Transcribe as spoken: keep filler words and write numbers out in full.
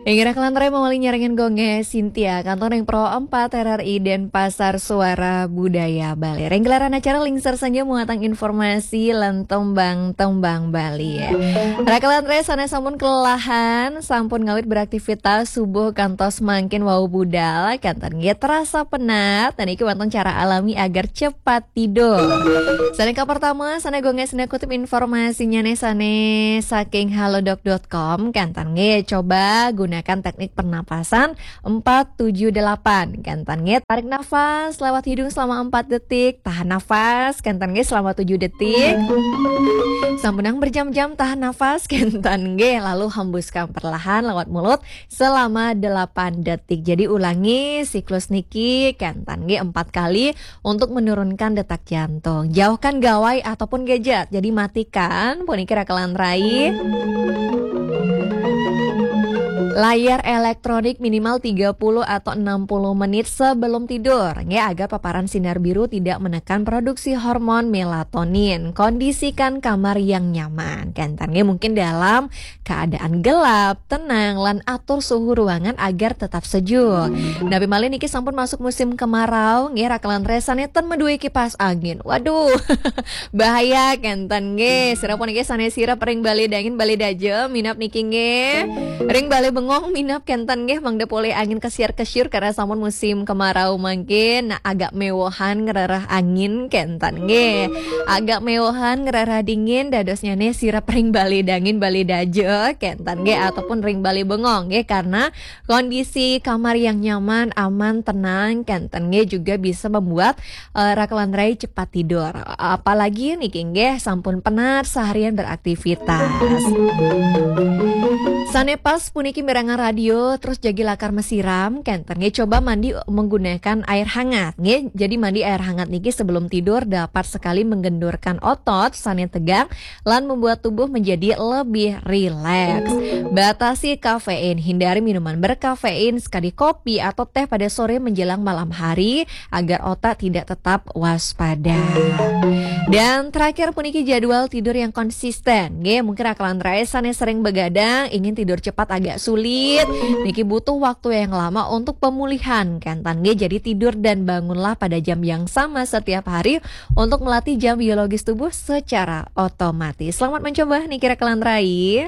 Inggih raka lan rai, mawali nyarengin Gong Cynthia, kantor ring Pro empat R R I Denpasar, Suara Budaya Bali. Ring gelaran acara Lingsir Senja muatang informasi lan tembang-tembang Bali. Raka lan rai sane sampun kelelahan, sampun ngawit beraktivitas subuh kantos mangkin wau budal, kenten nggih terasa penat, dan iki wonten cara alami agar cepat tidur. Sane kapertama, sane Gong Cynthia kutip informasinya nih sane saking halodoc dot com, kenten nggih coba gunakan teknik pernapasan empat tujuh delapan. Kenten nggih tarik nafas lewat hidung selama empat detik, tahan nafas, kenten nggih selama tujuh detik. Sampunang berjam-jam tahan nafas, kenten nggih, lalu hembuskan perlahan lewat mulut selama delapan detik. Jadi ulangi siklus niki, kenten nggih, empat kali untuk menurunkan detak jantung. Jauhkan gawai ataupun gadget. Jadi matikan puniki raka lan rai. Layar elektronik minimal tiga puluh atau enam puluh menit sebelum tidur, nggih, agar paparan sinar biru tidak menekan produksi hormon melatonin. Kondisikan kamar yang nyaman. Kenten nggih, mungkin dalam keadaan gelap, tenang, lan atur suhu ruangan agar tetap sejuk. Napi malih niki sampun masuk musim kemarau, nggih, raka lan rai sane ten maduwe kipas angin. Waduh, bahaya, kenten nggih. Sira puniki sane sirep ring Bale Dangin, Bale Dajem, minab niki nggih. Ring Bale Bengong minab kenten nggih, mangda polih angin kesiar-kesiur karena sampun musim kemarau mangkin. Nah, agak mewohan ngrereh angin, kenten nggih. Agak mewohan ngrereh dingin, dadosnyane sirep ring Bale Dangin, Bale Dajem, kenten nggih, ataupun ring Bale Bengong nggih, karena kondisi kamar yang nyaman, aman, tenang, kenten nggih, juga bisa membuat eh, raka lan rai cepat tidur. Apalagi niki nggih sampun penat seharian beraktivitas. Sane pas puniki mirengang radio terus jagi lakar masiram, kenten nggih coba mandi menggunakan air hangat nggih. Jadi mandi air hangat niki sebelum tidur dapat sekali menggendurkan otot sane tegang lan membuat tubuh menjadi lebih rileks. Batasi kafein, hindari minuman berkafein sekali kopi atau teh pada sore menjelang malam hari agar otak tidak tetap waspada. Dan terakhir puniki jadwal tidur yang konsisten. Nggih, mungkin raka lan rai sane sering begadang, ingin tidur cepat agak sulit. Niki butuh waktu yang lama untuk pemulihan, kenten nggih. Jadi tidur dan bangunlah pada jam yang sama setiap hari untuk melatih jam biologis tubuh secara otomatis. Selamat mencoba niki raka lan rai.